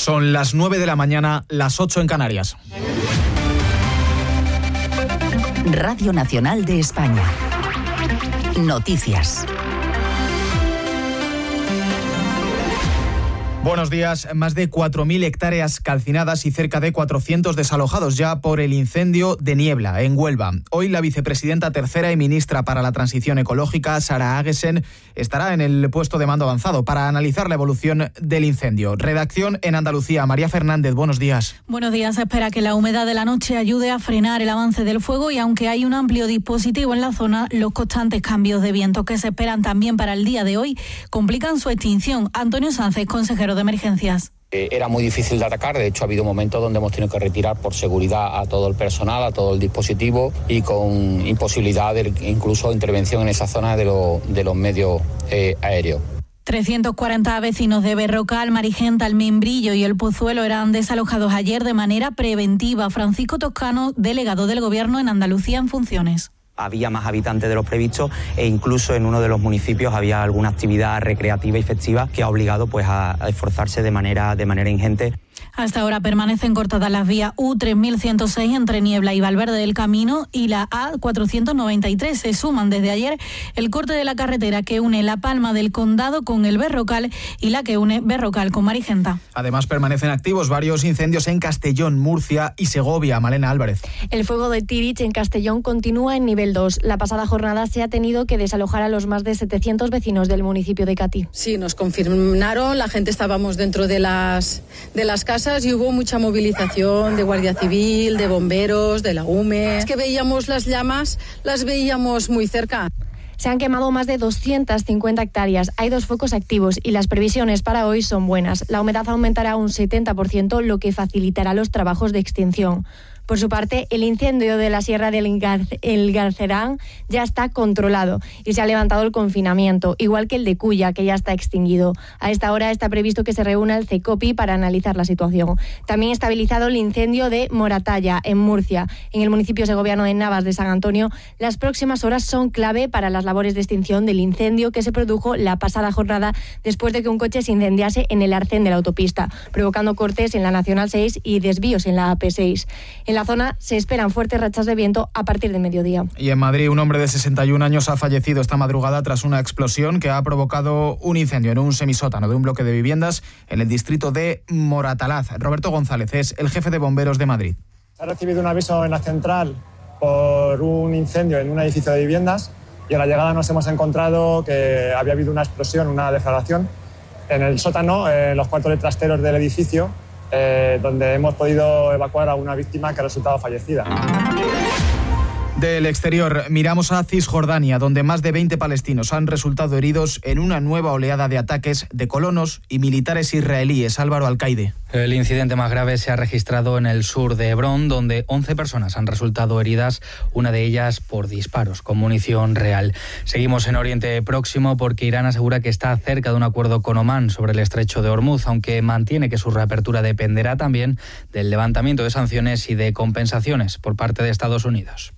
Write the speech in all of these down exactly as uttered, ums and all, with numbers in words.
Son las nueve de la mañana, las ocho en Canarias. Radio Nacional de España. Noticias. Buenos días. Más de cuatro mil hectáreas calcinadas y cerca de cuatrocientos desalojados ya por el incendio de Niebla, en Huelva. Hoy la vicepresidenta tercera y ministra para la Transición Ecológica, Sara Agesen, estará en el puesto de mando avanzado para analizar la evolución del incendio. Redacción en Andalucía. María Fernández, buenos días. Buenos días. Se espera que la humedad de la noche ayude a frenar el avance del fuego y aunque hay un amplio dispositivo en la zona, los constantes cambios de viento que se esperan también para el día de hoy complican su extinción. Antonio Sánchez, consejero de Emergencias. Era muy difícil de atacar, de hecho ha habido momentos donde hemos tenido que retirar por seguridad a todo el personal, a todo el dispositivo y con imposibilidad de incluso intervención en esa zona de, lo, de los medios eh, aéreos. trescientos cuarenta vecinos de Berrocal, Marigenta, El Membrillo y El Pozuelo eran desalojados ayer de manera preventiva. Francisco Toscano, delegado del Gobierno en Andalucía en funciones. Había más habitantes de los previstos e incluso en uno de los municipios había alguna actividad recreativa y festiva que ha obligado pues a, a esforzarse de manera, de manera ingente. Hasta ahora permanecen cortadas las vías U tres mil ciento seis entre Niebla y Valverde del Camino y la A cuatrocientos noventa y tres. Se suman desde ayer el corte de la carretera que une La Palma del Condado con el Berrocal y la que une Berrocal con Marigenta. Además permanecen activos varios incendios en Castellón, Murcia y Segovia. Malena Álvarez. El fuego de Tirich en Castellón continúa en nivel dos. La pasada jornada se ha tenido que desalojar a los más de setecientos vecinos del municipio de Catí. Sí, nos confirmaron, la gente estábamos dentro de las, de las casas y hubo mucha movilización de Guardia Civil, de bomberos, de la U M E. Es que veíamos las llamas, las veíamos muy cerca. Se han quemado más de doscientas cincuenta hectáreas, hay dos focos activos y las previsiones para hoy son buenas. La humedad aumentará un setenta por ciento, lo que facilitará los trabajos de extinción. Por su parte, el incendio de la Sierra del Garcerán ya está controlado y se ha levantado el confinamiento, igual que el de Cuya, que ya está extinguido. A esta hora está previsto que se reúna el CECOPI para analizar la situación. También estabilizado el incendio de Moratalla, en Murcia. En el municipio segoviano de Navas de San Antonio, las próximas horas son clave para las labores de extinción del incendio que se produjo la pasada jornada después de que un coche se incendiase en el arcén de la autopista, provocando cortes en la Nacional seis y desvíos en la A P seis. En la zona se esperan fuertes rachas de viento a partir de mediodía. Y en Madrid, un hombre de sesenta y un años ha fallecido esta madrugada tras una explosión que ha provocado un incendio en un semisótano de un bloque de viviendas en el distrito de Moratalaz. Roberto González es el jefe de bomberos de Madrid. Se ha recibido un aviso en la central por un incendio en un edificio de viviendas y a la llegada nos hemos encontrado que había habido una explosión, una deflagración en el sótano, en los cuartos de trasteros del edificio, Eh, donde hemos podido evacuar a una víctima que ha resultado fallecida. Del exterior, miramos a Cisjordania, donde más de veinte palestinos han resultado heridos en una nueva oleada de ataques de colonos y militares israelíes. Álvaro Alcaide. El incidente más grave se ha registrado en el sur de Hebrón, donde once personas han resultado heridas, una de ellas por disparos con munición real. Seguimos en Oriente Próximo porque Irán asegura que está cerca de un acuerdo con Omán sobre el estrecho de Hormuz, aunque mantiene que su reapertura dependerá también del levantamiento de sanciones y de compensaciones por parte de Estados Unidos.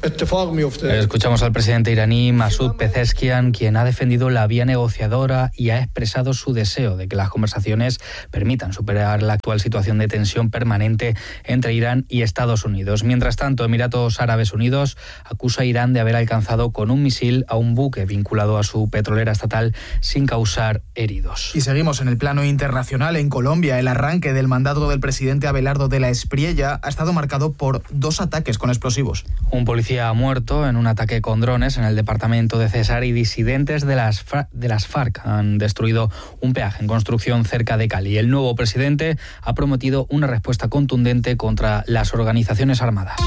Escuchamos al presidente iraní Masoud Pezeshkian, quien ha defendido la vía negociadora y ha expresado su deseo de que las conversaciones permitan superar la actual situación de tensión permanente entre Irán y Estados Unidos. Mientras tanto, Emiratos Árabes Unidos acusa a Irán de haber alcanzado con un misil a un buque vinculado a su petrolera estatal sin causar heridos. Y seguimos en el plano internacional. En Colombia, el arranque del mandato del presidente Abelardo de la Espriella ha estado marcado por dos ataques con explosivos. Un policía ha muerto en un ataque con drones en el departamento de Cesar y disidentes de las, de las FARC han destruido un peaje en construcción cerca de Cali. El nuevo presidente ha prometido una respuesta contundente contra las organizaciones armadas.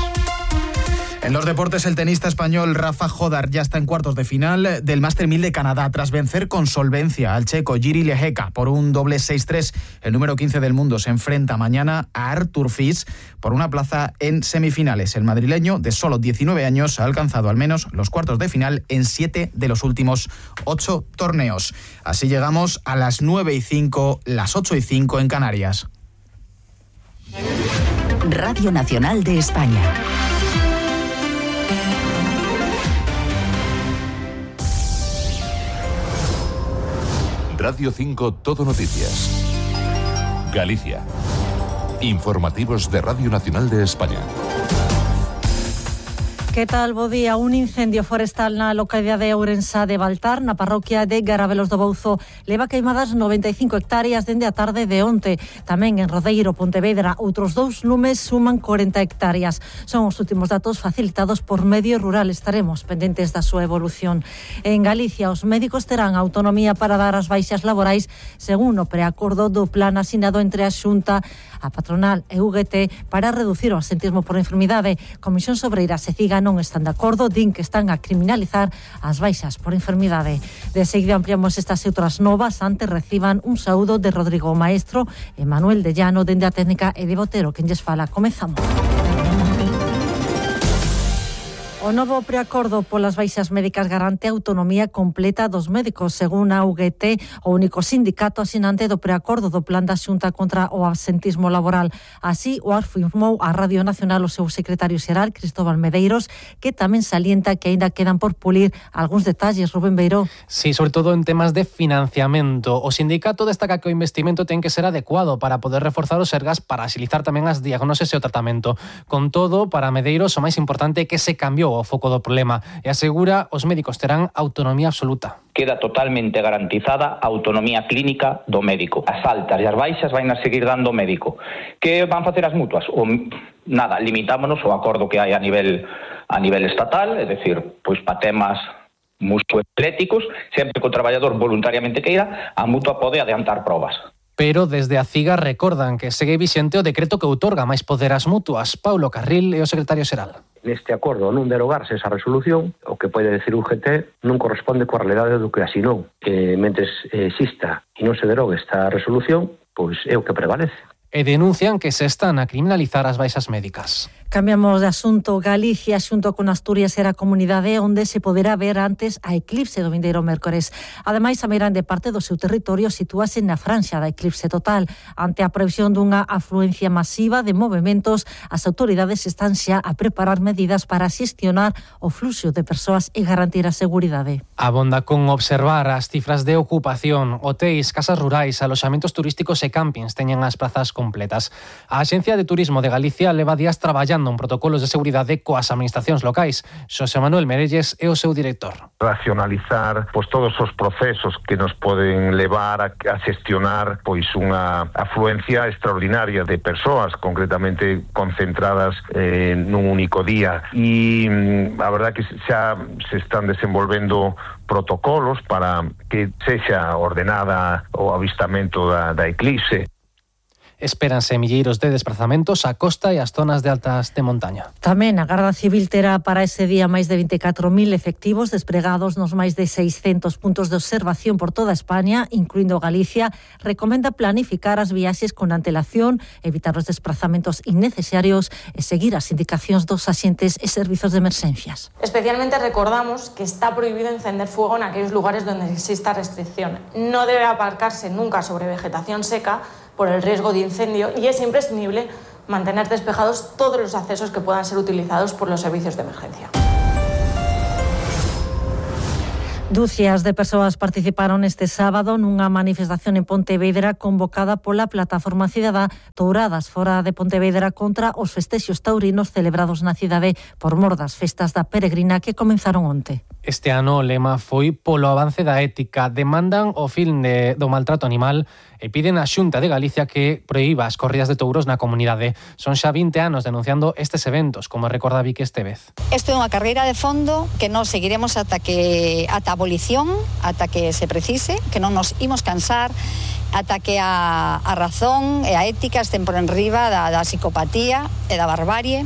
En los deportes, el tenista español Rafa Jodar ya está en cuartos de final del Master mil de Canadá tras vencer con solvencia al checo Jiří Lehecka por un doble seis tres. El número quince del mundo se enfrenta mañana a Artur Fils por una plaza en semifinales. El madrileño, de solo diecinueve años, ha alcanzado al menos los cuartos de final en siete de los últimos ocho torneos. Así llegamos a las nueve y cinco, las ocho y cinco en Canarias. Radio Nacional de España. Radio cinco Todo Noticias. Galicia. Informativos de Radio Nacional de España. Que tal, bo día? Un incendio forestal na localidade de Ourensa de Baltar, na parroquia de Garavelos do Bouzo, leva queimadas noventa e cinco hectáreas dende a tarde de onte. Tamén en Rodeiro, Pontevedra, outros dous lumes suman corenta hectáreas. Son os últimos datos facilitados por Medio Rural. Estaremos pendentes da súa evolución. En Galicia, os médicos terán autonomía para dar as baixas laborais según o preacordo do plan asinado entre a Xunta, a patronal e U G T para reducir o absentismo por enfermidade. Comisión Sobreira se Ciga non están de acordo, din que están a criminalizar as baixas por enfermidade. De seguida ampliamos estas e outras novas, antes reciban un saúdo de Rodrigo Maestro e Manuel de Llano dende a técnica e de Botero, quen lles fala. Comezamos. O novo preacordo polas baixas médicas garante a autonomía completa dos médicos. Según a U G T, o único sindicato asinante do preacordo do plan da Xunta contra o absentismo laboral. Así o afirmou a Radio Nacional o seu secretario xeral, Cristóbal Medeiros, que tamén salienta que aínda quedan por pulir algúns detalles. Rubén Beiró. Sí, sobre todo en temas de financiamento. O sindicato destaca que o investimento ten que ser adecuado para poder reforzar os sergas para axilizar tamén as diagnoses e o tratamento. Con todo, para Medeiros, o máis importante é que se cambiou o foco do problema e asegura os médicos terán autonomía absoluta. Queda totalmente garantizada a autonomía clínica do médico. As altas e as baixas van a seguir dando o médico. Que van facer as mutuas? O, nada, limitámonos ao acordo que hai a nivel a nivel estatal, é dicir, pois para temas musculoesqueléticos, sempre que o traballador voluntariamente queira, a mutua pode adiantar probas. Pero desde a CIGA recordan que segue vixente o decreto que outorga máis poder ás mutuas. Paulo Carril é o secretario xeral. Neste acordo non derogarse esa resolución, o que pode decir o U G T non corresponde coa realidade do que asinou. Que mentres exista e non se derogue esta resolución, pois é o que prevalece. E denuncian que se están a criminalizar as baixas médicas. Cambiamos de asunto. Galicia, xunto con Asturias, era a comunidade onde se poderá ver antes a eclipse do vindeiro mércores. Ademais, a meirande parte do seu territorio sitúase na franxa da eclipse total. Ante a previsión dunha afluencia masiva de movementos, as autoridades están xa a preparar medidas para xestionar o fluxo de persoas e garantir a seguridade. Abonda con observar as cifras de ocupación. Hotéis, casas rurais, aloxamentos turísticos e campings teñen as prazas completas. A Axencia de Turismo de Galicia leva días traballando en protocolos de seguridade coas administracións locais. Xosé Manuel Merelles é o seu director. Racionalizar pois todos os procesos que nos poden levar a, a xestionar pois unha afluencia extraordinaria de persoas, concretamente concentradas eh, nun único día. E a verdad que xa se están desenvolvendo protocolos para que sexa ordenada o avistamento da, da eclipse. Espéranse milleiros de desplazamentos á costa e ás zonas de altas de montaña. Tamén a Garda Civil terá para ese día máis de vinte e catro mil efectivos despregados nos máis de seiscentos puntos de observación por toda España, incluindo Galicia. Recomenda planificar as viaxes con antelación, evitar os desplazamentos innecesarios e seguir as indicacións dos axentes e servizos de emerxencias. Especialmente recordamos que está prohibido encender fuego en aquellos lugares donde exista restricción. No debe aparcarse nunca sobre vegetación seca por el riesgo de incendio y es imprescindible mantener despejados todos los accesos que puedan ser utilizados por los servicios de emergencia. Dúcias de persoas participaron este sábado nunha manifestación en Pontevedra convocada pola Plataforma Cidadá Touradas fora de Pontevedra contra os festexos taurinos celebrados na cidade por mor das festas da peregrina que comenzaron onte. Este ano o lema foi polo avance da ética. Demandan o fin de, do maltrato animal e piden á Xunta de Galicia que proíba as corridas de touros na comunidade. Son xa vinte anos denunciando estes eventos, como recorda Vicky Estevez. Isto é unha carreira de fondo que nos seguiremos ata que ata a abolición, ata que se precise, que non nos imos cansar, ata que a, a razón e a ética estén por enriba da, da psicopatía e da barbarie.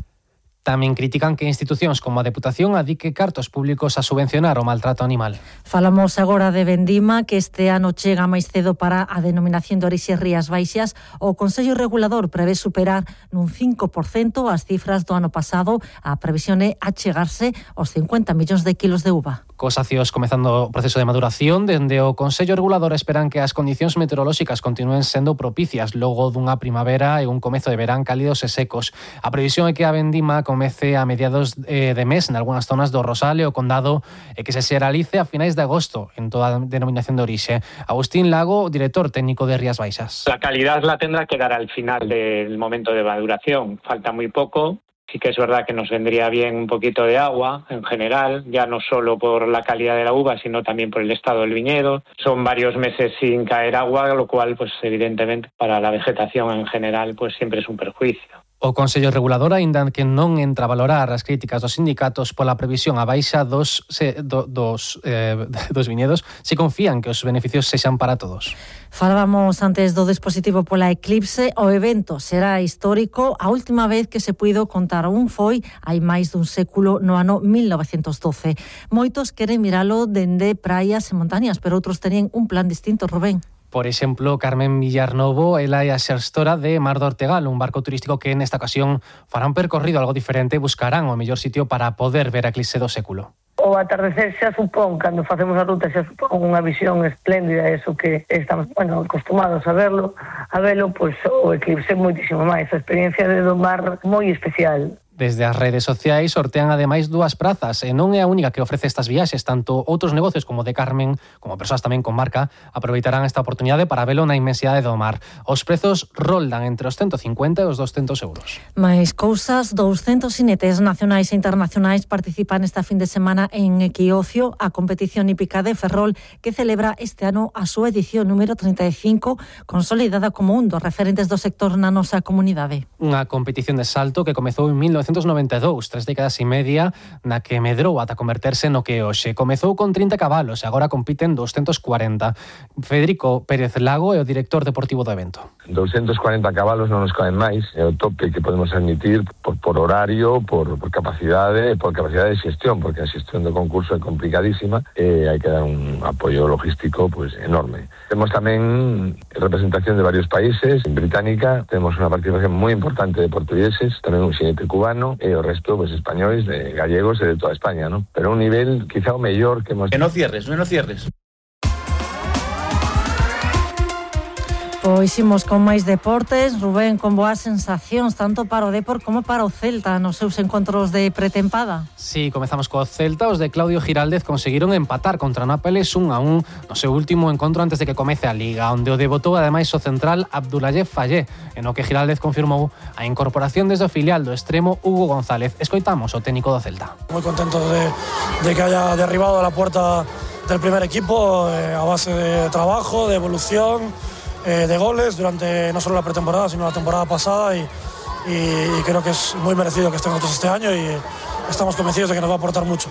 Tamén critican que institucións como a Deputación adique cartos públicos a subvencionar o maltrato animal. Falamos agora de Vendima, que este ano chega máis cedo para a denominación de orixe Rías Baixas. O Consello Regulador prevé superar nun cinco por cento as cifras do ano pasado. A previsión é achegarse aos cincuenta millóns de kilos de uva. Cos acios comezando o proceso de maduración, dende o Consello Regulador esperan que as condicións meteorolóxicas continúen sendo propicias logo dunha primavera e un comezo de verán cálidos e secos. A previsión é que a vendima comece a mediados de mes en algunhas zonas do Rosal e o Condado e que se xeralice a finais de agosto en toda a denominación de orixe. Agustín Lago, director técnico de Rías Baixas. La calidad la tendrá que dar al final del momento de maduración. Falta muy poco. Sí que es verdad que nos vendría bien un poquito de agua en general, ya no solo por la calidad de la uva, sino también por el estado del viñedo. Son varios meses sin caer agua, lo cual, pues evidentemente, para la vegetación en general, pues siempre es un perjuicio. O Consello Regulador aínda que non entra a valorar as críticas dos sindicatos pola previsión a baixa dos, se, do, dos, eh, dos viñedos, se confían que os beneficios sexan para todos. Falábamos antes do dispositivo pola Eclipse. O evento será histórico. A última vez que se puido contar un foi hai máis dun século, no ano mil novecentos doce. Moitos queren miralo dende praias e montañas, pero outros teñen un plan distinto, Rubén. Por exemplo, Carmen Villarnovo, ela é a xestora de Mar do Ortegal, un barco turístico que nesta ocasión fará un percorrido algo diferente e buscarán o mellor sitio para poder ver a eclipse do século. O atardecer xa supón, cando facemos a ruta, xa supón unha visión espléndida, eso que estamos, bueno, acostumados a verlo, a verlo, pois o eclipse moitísimo máis, a experiencia de do mar moi especial. Desde as redes sociais sortean ademais dúas prazas e non é a única que ofrece estas viaxes, tanto outros negocios como de Carmen, como persoas tamén con marca, aproveitarán esta oportunidade para velo na inmensidade do mar. Os prezos roldan entre os ciento cincuenta e os doscentos euros. Mais cousas, douscentos inetes nacionais e internacionais participan esta fin de semana en Equiocio, a competición hípica de Ferrol, que celebra este ano a súa edición número trinta e cinco, consolidada como un dos referentes do sector na nosa comunidade. Unha competición de salto que comezou en mil novecentos noventa e dous, tres décadas e media, na que medrou ata converterse no que hoxe. Comezou con trinta cabalos e agora compiten doscentos cuarenta. Federico Pérez Lago é o director deportivo do evento. doscentos cuarenta cabalos non nos caen máis, é o tope que podemos admitir por, por horario, por, por capacidade, por capacidade de xestión, porque a xestión do concurso é complicadísima e hai que dar un apoio logístico pues enorme. Temos tamén representación de varios países. En Británica temos unha participación moi importante de portugueses, tamén un xinete cubano e o resto pues españoles, de gallegos e de toda España, ¿no? Pero un nivel quizá o mellor que hemos... Que no cierres, no, no cierres. Pois imos con máis deportes. Rubén, con boas sensacións tanto para o Depor como para o Celta nos seus encontros de pretempada. Sí, comezamos co Celta. Os de Claudio Giraldez conseguiron empatar contra Nápoles un a un no seu último encontro antes de que comece a Liga, onde o debutou ademais o central Abdoulaye Fallé, en o que Giraldez confirmou a incorporación desde o filial do extremo Hugo González. Escoitamos o técnico do Celta. Moi contento de, de que haya derribado a la puerta del primer equipo eh, a base de trabajo, de evolución, de goles durante no solo la pretemporada sino la temporada pasada y, y, y creo que es muy merecido que estén nosotros este año y estamos convencidos de que nos va a aportar mucho.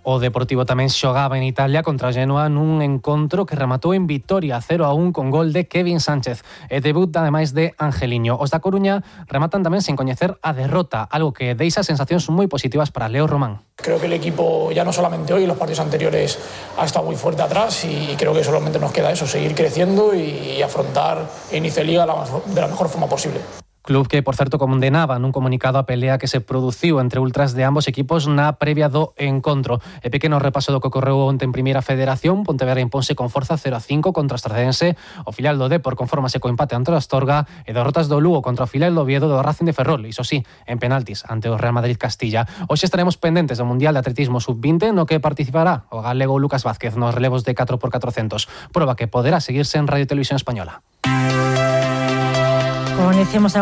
O Deportivo tamén xogaba en Italia contra Genoa nun encontro que rematou en vitoria cero a un con gol de Kevin Sánchez e debut ademais de Angeliño. Os da Coruña rematan tamén sen coñecer a derrota, algo que deixa sensacións moi positivas para Leo Román. Creo que el equipo, ya no solamente hoy, los partidos anteriores, ha estado muy fuerte atrás y creo que solamente nos queda eso, seguir creciendo y afrontar el inicio de Liga de la mejor forma posible. Club que, por certo, condenaba nun comunicado a pelea que se produciu entre ultras de ambos equipos na previa do encontro. E pequeno repaso do que ocorreu onte en Primeira Federación. Pontevedra imponse con forza cero a cinco contra o Estradense. O filial do Depor confórmase co empate ante o Astorga e derrotas do Lugo contra o filial do Oviedo do Racing de Ferrol. Iso sí, en penaltis ante o Real Madrid Castilla. Hoxe estaremos pendentes do Mundial de Atletismo sub vinte no que participará o galego Lucas Vázquez nos relevos de catro por catrocentos. Proba que poderá seguirse en Radio Televisión Española. Como iniciamos agora